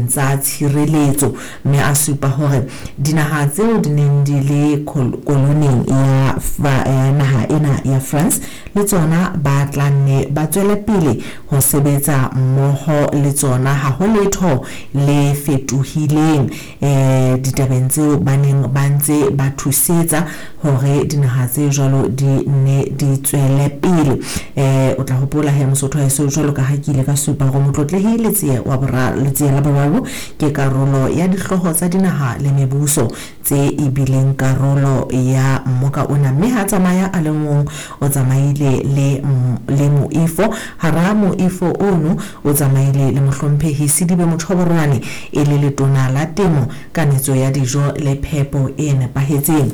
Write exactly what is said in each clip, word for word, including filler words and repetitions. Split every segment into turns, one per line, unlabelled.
ditabeng tsa tshireletso, mme a supa hore dinaha tseo di neng di le koloneng ya naha ena ya France le tsona ba tla nne ba tswele pele ho sebetsa mmoho le tsona, ha ho letho le fetohileng eh ditabeng tseo ba neng ba ntse ba thusetsa hore dinaha tse jwalo di ne di tswele pele. Eh o tla hopola he Mosotho haeso, jwalo ka ha ke ile ka supa hore Motlotlehi Letsie wa boraro Letsie la boraro ke karolo ya dihlooho tsa dinaha le mebuso tse e bileng karolo ya mmoka ona, mme ha tsamaya a le mong, o tsamaile le le moifo. Hara moifo ono o tsamaile le mohlomphehi Sidibe Mothoborwane e le letona la temo, kanetso ya dijo le phepo e nepahetseng.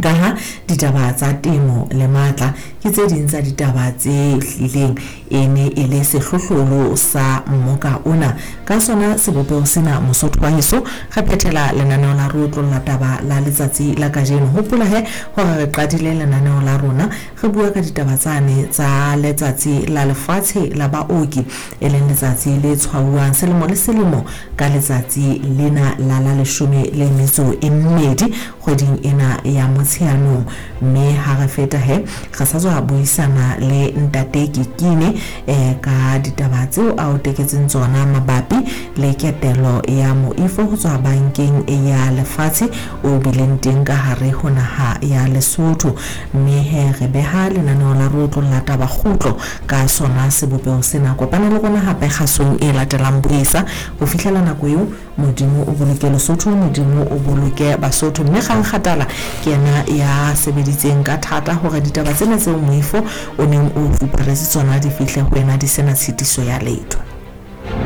Ka ha ditaba tsa temo le matla ke tse ding tsa ditaba tse hlileng e ne e le sehlohlolo sa mmoka ona. Ka sona sebopeho sena, Mosotho wa heso, re phethela lenaneo la re otlolla taba la letsatsi la kajeno. Hopola he hore re qadile lenaneo la rona re bua ka ditaba tsane tsa letsatsi la lefatshe la baoki, e leng letsatsi le tshwauwang selemo le selemo ka letsatsi lena la la leshome le metso e mmedi kgweding ena ya Motsheanong. Mme ha re feta he re sa tswa buisana le ntate Kikine eh ka ditaba tseo a o teketseng tsona mabapi le ketelo ya moifo ho tswa bankeng ya lefatshe o bileng teng ka hare ho naha ya Lesotho. Mme he re beha lenaneo la re otlolla taba kgutlo ka sona sebopeho sena. Kopana le rona hape kgasong e latelang buisa. Ho fihlela nako eo, Modimo o boloke Lesotho, Modimo o boloke Basotho. Mme Kgang Kgatala ke yena ya sebeditseng ka thata hore ditaba tsena tseo moifo o neng o fuparetse tsona di fihle ho wena di sena tshitiso ya letho.